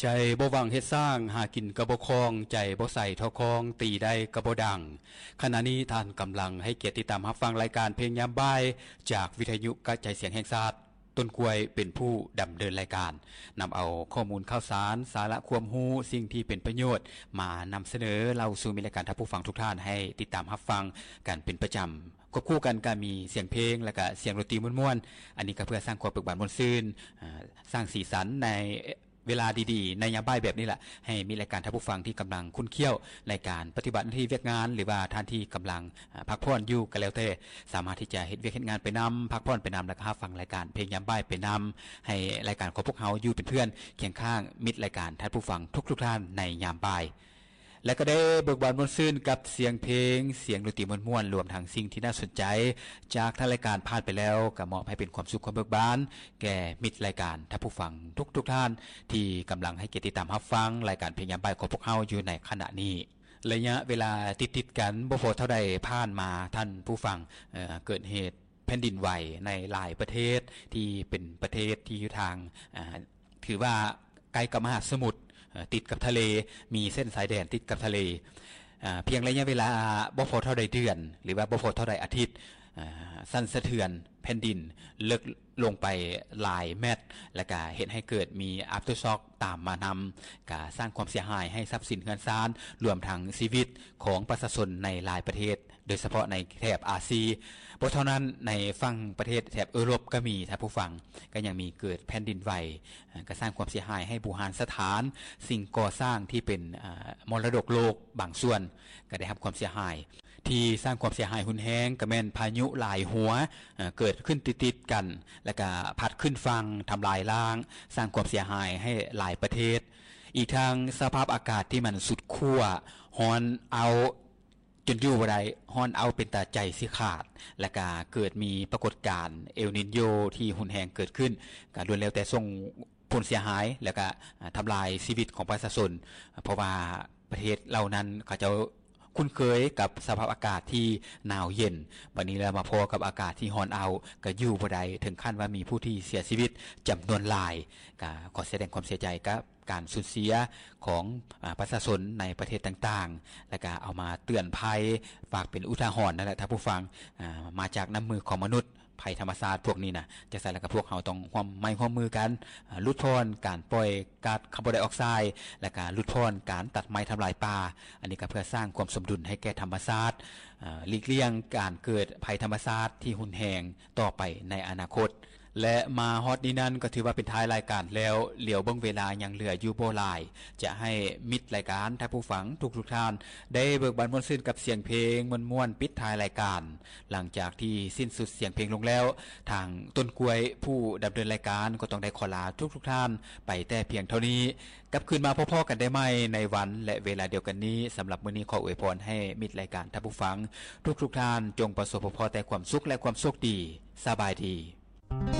ໃຈບໍ່ຫວັງເຮັດສ້າງ ຫາກິນກໍບໍ່ຄ່ອງ ໃຈບໍ່ໃສທໍ່ຄອງ ຕີໄດ້ກໍບໍ່ດັງ. ຂະນະນີ້ທ່ານກຳລັງໃຫ້ກຽດຕິດຕາມຮັບຟັງລາຍການເພງຍາມບ່າຍ ຈາກວິທະຍຸກະຈາຍສຽງແຫ່ງຊາດ. ຕົ້ນກ້ວຍເປັນຜູ້ດຳເນີນລາຍການ, ນຳເອົາຂໍ້ມູນຂ່າວສານ, ສາລະຄວາມຮູ້, ສິ່ງທີ່ເປັນປະໂຫຍດ ມານຳສະເໜີເລົ່າສູ່ມິດລາຍການທ່ານຜູ້ຟັງທຸກທ່ານໃຫ້ຕິດຕາມຮັບຟັງກັນເປັນປະຈຳ. ຄວບຄູ່ກັນກໍມີສຽງເພງ ແລະກະສຽງດົນຕີມ່ວນໆ, ອັນນີ້ກໍເພື່ອສ້າງຄວາມເບີກບານມ່ວນຊື່ນ, ອາ, ສ້າງສີສັນໃນເວລາດີໆ ໃນຍາມບ່າຍແບບນີ້ລະ, ໃຫ້ມິດລາຍການທ່ານຜູ້ຟັງທີ່ກຳລັງຂຸ້ນຂ້ຽວໃນການປະຕິບັດໜ້າທີ່ວຽກງານ ຫຼືວ່າທ່ານທີ່ກຳລັງ, ອາ, ພັກຜ່ອນຢູ່ກໍແລ້ວແຕ່, ສາມາດທີ່ຈະເຮັດວຽກເຮັດງານໄປນຳ, ພັກຜ່ອນໄປນຳ ແລະກໍຮັບຟັງລາຍການເພງຍາມບ່າຍໄປນຳ, ໃຫ້ລາຍການຂອງພວກເຮົາຢູ່ເປັນເພື່ອນຄຽງຂ້າງມິດລາຍການທ່ານຜູ້ຟັງທຸກໆທ່ານໃນຍາມບ່າຍ. ແລະກໍໄດ້ເບີກບານມ່ວນຊື່ນກັບສຽງເພງ, ສຽງດົນຕີມ່ວນໆ, ລວມທັງສິ່ງທີ່ໜ້າສົນໃຈຈາກທາງລາຍການຜ່ານໄປແລ້ວ, ກໍມອບໃຫ້ເປັນຄວາມສຸກຄວາມເບີກບານແກ່ມິດລາຍການທ່ານຜູ້ຟັງທຸກໆທ່ານ ທີ່ກຳລັງໃຫ້ກຽດຕິດຕາມຮັບຟັງລາຍການເພງຍາມບ່າຍຂອງພວກເຮົາຢູ່ໃນຂະນະນີ້. ໄລຍະເວລາຕິດໆກັນບໍ່ພໍເທົ່າໃດຜ່ານມາ, ທ່ານຜູ້ຟັງ, ເອີ, ເກີດເຫດ ແຜ່ນດິນໄຫວໃນຫຼາຍປະເທດທີ່ເປັນປະເທດທີ່ຢູ່ທາງ, ອາ, ຖືວ່າໃກ້ກັບມະຫາສະໝຸດ, ເອີ, ຕິດກັບທະເລ, ມີເສັ້ນຊາຍແດນຕິດກັບທະເລ. ອາ, ພຽງໄລຍະເວລາບໍ່ພໍເທົ່າໃດເດືອນ ຫຼືວ່າບໍ່ພໍເທົ່າໃດອາທິດ, ອາ, ສັ່ນສະເທືອນແຜ່ນດິນເລິກລົງໄປຫຼາຍແມັດ ແລະກະເຮັດໃຫ້ເກີດມີ aftershock ຕາມມານຳ, ກະສ້າງຄວາມເສຍຫາຍໃຫ້ຊັບສິນເຮືອນຊານ ລວມທັງຊີວິດຂອງປະຊາຊົນໃນຫຼາຍປະເທດ. ໂດຍສະເພາະໃນແຖບອາຊີ. ບໍ່ເທົ່ານັ້ນ, ໃນຝັ່ງປະເທດແຖບເອີຣົບກໍມີ, ທ່ານຜູ້ຟັງ, ກໍຍັງມີເກີດແຜ່ນດິນໄຫວ, ກໍສ້າງຄວາມເສຍຫາຍໃຫ້ບູຮານສະຖານ, ສິ່ງກໍ່ສ້າງທີ່ເປັນ, ອາ, ມໍລະດົກໂລກບາງສ່ວນກໍໄດ້ຮັບຄວາມເສຍຫາຍ. ທີ່ສ້າງຄວາມເສຍຫາຍຮຸນແຮງກໍແມ່ນພາຍຸຫຼາຍຫົວ, ເກີດຂຶ້ນຕິດໆກັນ, ແລ້ວກໍພັດຂຶ້ນຝັ່ງ, ທຳລາຍລ້າງ, ສ້າງຄວາມເສຍຫາຍໃຫ້ຫຼາຍປະເທດ. ອີກທັງສະພາບອາກາດທີ່ມັນສຸດຂົ້ວ, ຮ້ອນເອົ້າ ຈົນຢູ່ບໍ່ໄດ້, ຮ້ອນເອົ້າເປັນຕາໃຈຊິຂາດ, ແລະກະເກີດມີປາກົດການເອລນິນໂຍທີ່ຮຸນແຮງເກີດຂຶ້ນ, ກະລ້ວນແລ້ວແຕ່ສົ່ງຜົນເສຍຫາຍ ແລະກະ, ອາ, ທຳລາຍຊີວິດຂອງປະຊາຊົນ, ເພາະວ່າປະເທດເຫຼົ່ານັ້ນເຂົາເຈົ້າຄຸ້ນເຄີຍກັບສະພາບອາກາດທີ່ໜາວເຢັນ, ບັດນີ້ແລ້ວມາພໍ້ກັບອາກາດທີ່ຮ້ອນເອົ້າ, ກະຢູ່ບໍ່ໄດ້, ເຖິງຂັ້ນວ່າມີຜູ້ທີ່ເສຍຊີວິດຈຳນວນຫຼາຍ. ກະຂໍສະແດງຄວາມເສຍໃຈກັບ ການສູນເສຍຂອງ, ອາ, ປະຊາຊົນໃນປະເທດຕ່າງໆ, ແລ້ວກະເອົາມາເຕືອນໄພ, ຝາກເປັນອຸທາຫອນນັ້ນແຫຼະທ່ານຜູ້ຟັງ, ອາ, ມາຈາກນ້ຳມືຂອງມະນຸດ, ໄພທຳມະຊາດພວກນີ້ນະ. ຈັ່ງຊັ້ນແລ້ວກໍພວກເຮົາຕ້ອງຮ່ວມໄມ້ຮ່ວມມືກັນ, ອາ, ຫຼຸດຜ່ອນການປ່ອຍກາດຄາບອນໄດອອກໄຊ, ແລ້ວກະຫຼຸດຜ່ອນການຕັດໄມ້ທຳລາຍປ່າ. ອັນນີ້ກໍເພື່ອສ້າງຄວາມສົມດຸນໃຫ້ແກ່ທຳມະຊາດ, ອາ, ຫຼີກລ່ຽງການເກີດໄພທຳມະຊາດທີ່ຮຸນແຮງຕໍ່ໄປໃນອະນາຄົດ. ແລະມາຮອດນີ້ນັ້ນກໍຖືວ່າເປັນທ້າຍລາຍການແລ້ວ, ຫຼຽວເບິ່ງເວລາຍັງເຫຼືອຢູ່ບໍ່ຫຼາຍ, ຈະໃຫ້ມິດລາຍການ, ທ່ານຜູ້ຟັງທຸກໆທ່ານ, ໄດ້ເບີກບານມ່ວນຊື່ນກັບສຽງເພງມ່ວນໆ ປິດທ້າຍລາຍການ. ຫຼັງຈາກທີ່ສິ້ນສຸດສຽງເພງລົງແລ້ວ, ທາງຕົ້ນກ້ວຍຜູ້ດຳເນີນລາຍການກໍຕ້ອງໄດ້ຂໍລາທຸກໆທ່ານໄປແຕ່ພຽງເທົ່ານີ້. ກັບຄືນມາພົບພໍ້ກັນໄດ້ໃໝ່ໃນວັນ ແລະ ເວລາດຽວກັນນີ້. ສຳລັບມື້ນີ້ຂໍອວຍພອນໃຫ້ມິດລາຍການ, ທ່ານຜູ້ຟັງທຸກໆທ່ານ, ຈົ່ງປະສົບພົບພໍ້ແຕ່ຄວາມສຸກ ແລະ ຄວາມໂຊກດີ. ສະບາຍດີ.